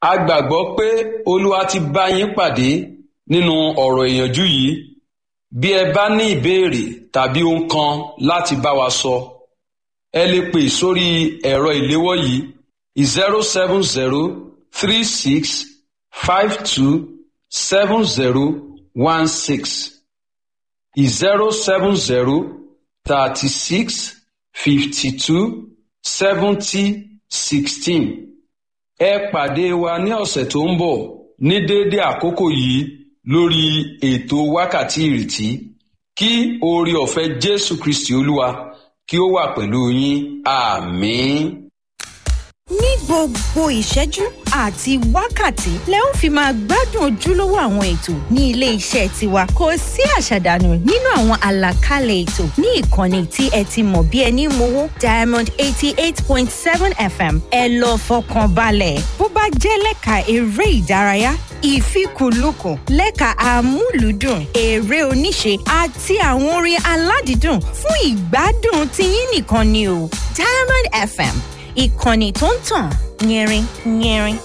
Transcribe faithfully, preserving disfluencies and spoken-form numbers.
A gbàgbọ́ pé Olúwa ti bá yín pàdé nínú ọ̀rọ̀ ìyànjú yìí. Bí ẹ bá ní ìbéèrè tàbí ohun kan láti bá wa sọ, ẹ lè pè sórí ẹ̀rọ ìléwọ́ yìí zero seven zero three six five two seven zero one six zero seven zero thirty six fifty two seventy sixteen. Ẹ pàdé wa ní ọ̀sẹ̀ tó ń bọ̀ ní déédé àkókò yìí lórí ètò Wákàtí Ìrètí. Kí oore ọ̀fẹ́ Jésù Kristi Olúwa kí ó wà pẹ̀lú yín. Àmín. Ní gbogbo ìṣẹ́jú àti wákàtí lẹ ó fi máa gbádùn ojúlówó àwọn ètò ní ilé iṣẹ́ tiwa. Kò sí àṣàdànù nínú àwọn àlàkalẹ̀ ètò ní ìkànnì tí ẹ ti mọ̀ bí ẹni mowó, Diamond eighty eight point seven F M. Ẹ lọ fọkàn balẹ̀, bó bá jẹ́ lẹ́ka eré ìdárayá, ìfikùnlukùn lẹ́ka amúlùúdùn, eré oníṣe àti àwọn orin aládìídùn fún ìgbádùn tiyín nìkan ni o. Diamond F M, ìkànnì tó ń tàn yẹrin yẹrin.